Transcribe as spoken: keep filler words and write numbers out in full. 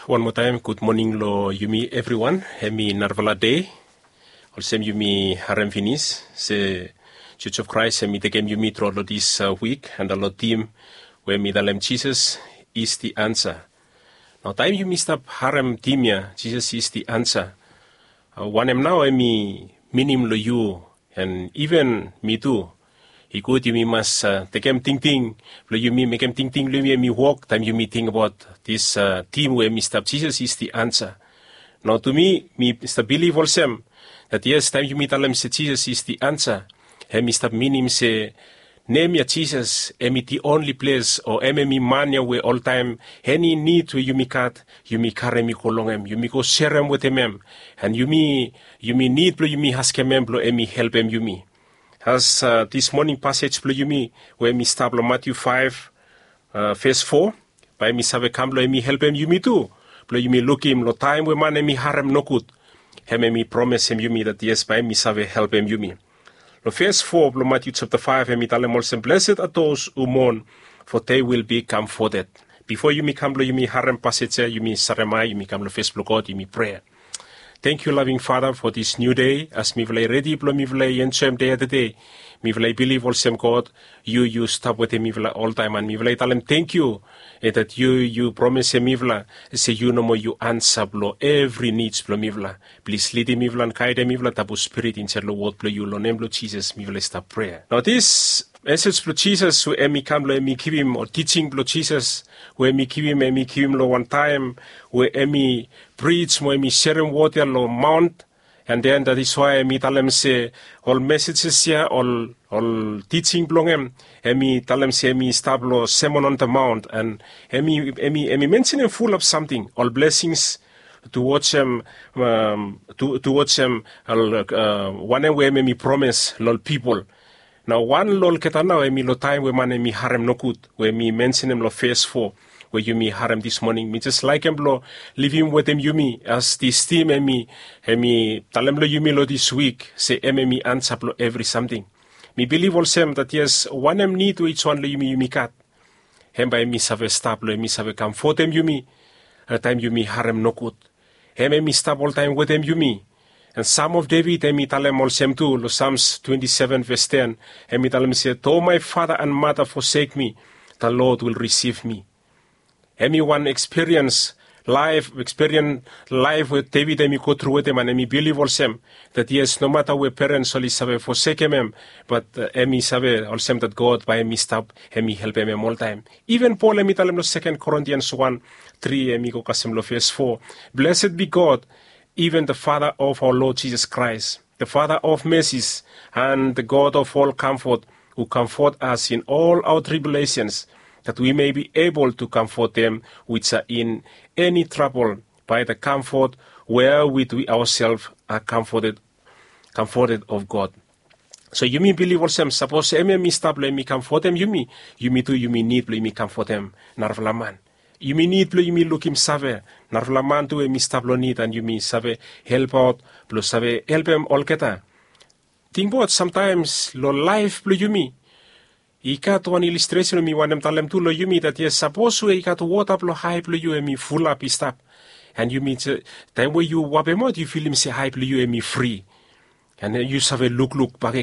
Wan moa taem gud moning long yumi evriwan. Hem i narafala dei. Olsem yumi harem finis se Jos of Kraes hem i tekem yumi tru long dis wik, en long tim we hem i talem Jisas is di ansa. Nao taem yumi stap harem tim ya, Jisas is di ansa, wanem nao hem i minim long yu, en iven mi tu? I gud yumi mas tekem tingting blong yumi, mekem tingting blong yumi hem i wok taem yumi tingbaot dis tim we hem i stap, Jisas is di ansa. Nao tu mi, mi stap bilif olsem dat yes, taem yumi talem se Jisas is di ansa, hem i stap minim se nem ya Jisas hem i di onli ples, o hem hem i man ya we oltaem eni nid we yumi gat, yumi karem i go long hem, yumi go serem wetem hem. En yumi, yumi nid blong yumi askem hem blong hem i helpem yumi. As dis moning pasej blong yumi we hem i stap long Matiu faef, ves fo, bae hem i save kam blong hem i helpem yumi tu, blong yumi lukim long taem we man hem i harem nogud, hem hem i promesem yumi dat yes, bae hem i save helpem yumi. Long ves fo blong Matiu japta faef hem i talem olsem, blessed are those who mourn, for they will be comforted. Bifo yumi kam blong yumi harem pasej ya, yumi sarem ae, yumi kam long fes blong God, yumi prea. Tangkiu laving Fada fo dis niu dei, as mifala i redi blong mifala i enjoem dei afta dei. Mifala i bilif olsem God, yu yu stap wetem mifala oltaem, en mifala i talem tangkiu, dat yu yu promesem mifala se yu nomo yu ansa blong evri nids blong mifala. Plis lidim mifala en gaedem mifala, tabu Spirit insaed long wod blong yu. Long nem blong Jisas mifala i stap prea. Nao dis mesej blong Jisas we hem i kam long hem i givim, o tijing blong Jisas we hem i givim, hem i givim long wan taem we hem i prij mo hem i serem wod ya long maon. En den dat is wae hem i talem se ol mesejes ya, ol ol tijing blong hem, hem i talem se hem i stap long Sermon on the Mount, en hem i hem i mensenem fulap samting, ol blesings, tu wojem, tu wojem wanem we hem hem i promes long ol pipol. Nao wan long olgeta nao hem i long taem we man hem i harem nogud, we hem i mensenem long ves fo, we yumi harem dis moning. Mi jes laekem blong livim wetem yumi as dis tim hem i hem i talem long yumi long dis wik se hem hem i ansa blong evri samting. Mi bilif olsem dat yes, wanem nid we ijwan long yumi yumi gat, hem bae hem i save stap blong hem i save kamfotem yumi taem yumi harem nogud. Hem hem i stap oltaem wetem yumi. En Sam of Deved hem i talem olsem tu long Sams twenti seven ves ten, hem i talem se, though my father and mother forsake me, the Lord will receive me. Hem i wan ekspiriens laef, ekspiriens laef we Deved hem i gotru wetem, en hem i bilif olsem dat yes, nomata we perens oli save fosekem hem, bat hem i save olsem dat God bae hem i stap, hem i helpem hem oltaem. Iven Pol hem i talem long Seken Korintians wan tri, hem i go kasem long ves fo, blessed be God, even the Father of our Lord Jesus Christ, the Father of mercies, and the God of all comfort, who comfort us in all our tribulations, that we may be able to comfort them which are in any trouble by the comfort wherewith we ourselves are comforted, comforted of God. So yumi bilif olsem sapos hem hem i stap blong hem i kamfotem yumi, yumi tu yumi nid blong yumi kamfotem narafala man. Yumi nid blong yumi lukim save narafala man tu hem i stap long nid, and yumi save helpaot blong save helpem olgeta. Tingbaot samtaems long laef blong yumi i gat wan ilistresen we mi wantem talem tu long yumi, dat yes, sapos we i gat wota blong ae blong yu hem i fulap i stap, and yumi, taem we yu wapemaot yu filim se ae blong yu hem i fri, and yu save lukluk bakegen.